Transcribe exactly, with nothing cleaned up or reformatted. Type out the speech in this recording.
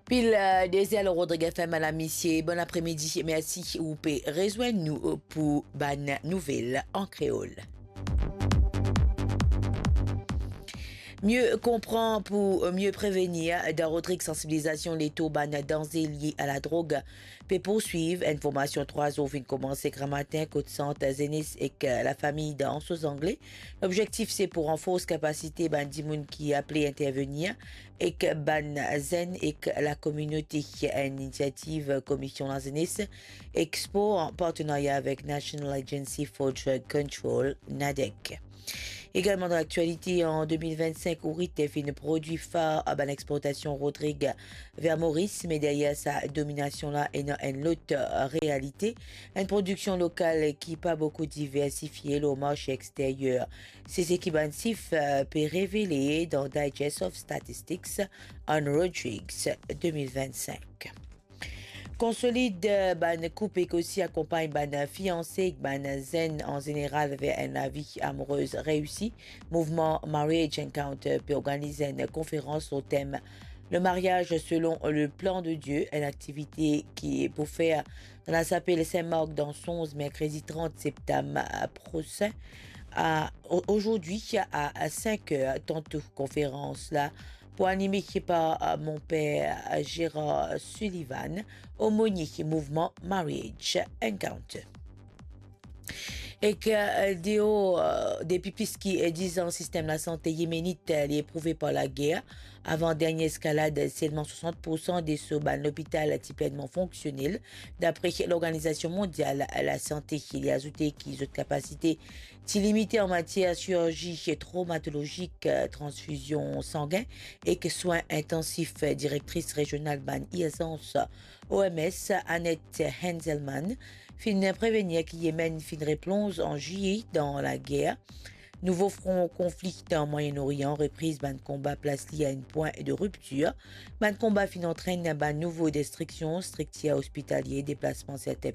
Pil, euh, dezer lor Rodrig F M, madam, misie, bon apremidi, mersi ou pe rezwenn nou, euh, pou bann nouvel an kreol. Mie konpran pou mie prevenir, dan Rodrig sansibilizasion letour bann danze lie a ladrog pe pourswiv. Enn formasion trwa zour finn komanse gramatin kot Sant Zenes ek, euh, lafami dan Anse aux Anglais. Lobzektif se pou ranfors kapasite bann dimoun ki aple intervenir ek bann zenn ek lakominote. Enn inisiativ Komision Lazenes ek Spor an partenaria avek National Agency for Drug Control, NADEC. Egalman dan laktialite, an de mil vinn-sink, Ourit finn prodwi far a bann exportasion Rodrig ver Moris, me deryer sa dominasion la ena enn lot, euh, realite. Enn prodiksion lokal ki pa boukou diversifie lor marse exteryer. Se seki bann sif, euh, pe revele dan Digest of Statistics on Rodrigs de mil vinn-sink. Konsolid, euh, bann koup ek osi akonpagn bann fianse ek bann zenn an zeneral ver enn lavi amourez reisi. Mouvman Marriage Encounter pe organiz enn konferans lor tem Le mariage selon le plan de Dieu, enn aktivite ki pou fer dan lasapel Sin Mark dan Sonz, merkredi trant septam, euh, prosin, a, o-, ozordi a, a sink er, tanto. Konferans la pou anime par, euh, monper Gérard Sullivan, omonie mouvman Marriage Encounter. Ek, euh, deor, euh, depi plis ki, euh, diz an, sistem lasante yemenit, euh, li eprouve par lager. Avan dernie eskalad, selman swasant poursan de so bann lopital ti plenman fonksionel, dapre Lorganizasion Mondial Lasante. Li azoute ki zot kapasite ti limite an matier sirurzi tromatolozik, euh, transfizion sangin ek swin intansif. Direktris rezional bann irzans O M S, Annette Henselman, finn prevenir ki Yemen finn replonz an Ziye dan lager. Nouvo fron konfli dan Moyen-Orient, repriz bann konba plas li a enn pwin de riptir. Bann konba finn antrenn bann nouvo destriksion, striktir ospitalie, deplasman sertin